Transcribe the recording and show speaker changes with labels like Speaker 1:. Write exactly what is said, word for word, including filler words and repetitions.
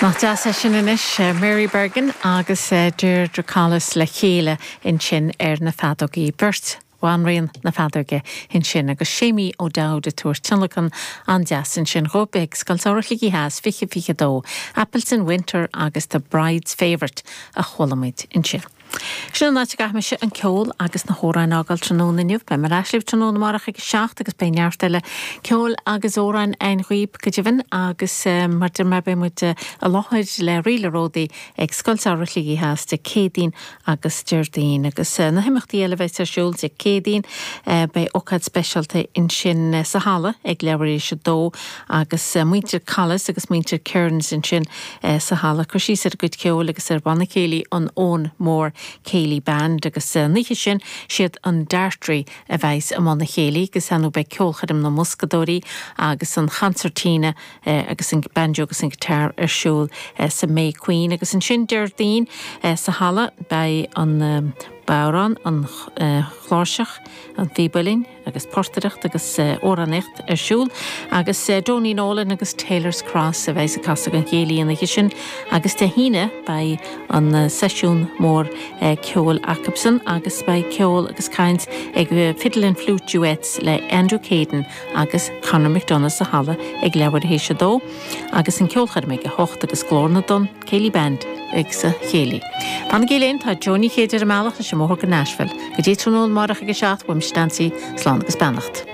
Speaker 1: Nach deas é sin anois Mary Bergin agus Deirdre Collis le chéile ansin ar na feadógaí beirt. Bhanríon na feadóige ansin agus Séimí O'Dowd ag tabhairt tionlacan an-deas ansin dhóibh ag Scoil Samhraidh Shligigh Theas fiche fiche dó, Apples in Winter agus The Bride's Favourite a chuala muid ansin. Sin an áit a gcaithfidh mise an ceol agus na hamhráin a fhágáil tráthnóna inniu, beidh mé ar ais libh tráthnóna amárach ag a seacht agus beidh neart eile ceoil agus amhráin againn dhaoibh go deimhin agus mar deir mé beidh muid i láthair le Ríle Ródaí ag Scoil Samhraidh Shligigh Theas Dé Céadaoin agus Déardaoin agus na himeachtaí eile bheidh ar siúl Dé Céadaoin beidh ócáid speisialta ansin sa halla ag leathuair tar éis a dó agus muintir Collis agus muintir Kearns ansin sa halla cur síos ar a gcuid ceoil agus ar bhanna céilí an Eoin Mór Céilí Band agus an oíche sin siad an Dartry a bheas i mbun an chéilí agus anú beidh ceolchoirm na mboscadóirí agus an concertina agus an banjo agus an guitar ar siúl sa May Queen agus ansin Déardaoin sa halla beidh an bodhrán an chláirseach an phíb uilleann agus portaireacht agus amhránaíocht ar siúl agus Donie Nolan agus Taylor's Cross a bheidh ag casadh an chéilí an oíche sin agus Dé hAoine beidh an seisiún mór ceoil acusan agus beidh ceol agus caint ag Fiddle and Flute Duets le Andrew Caden agus Conor McDonough sa halla ag leathuair tar éis a dó agus an ceolchoirm ag a hocht agus Glór na dTonn Céilí Band ag sa chéilí. Fanaigí linn tá Johnny Chéid ar an mbealach leis an mbóthar go Nashville, go dtí tráthnóna amárach ag a seacht uaimse Nancy slán agus beannacht.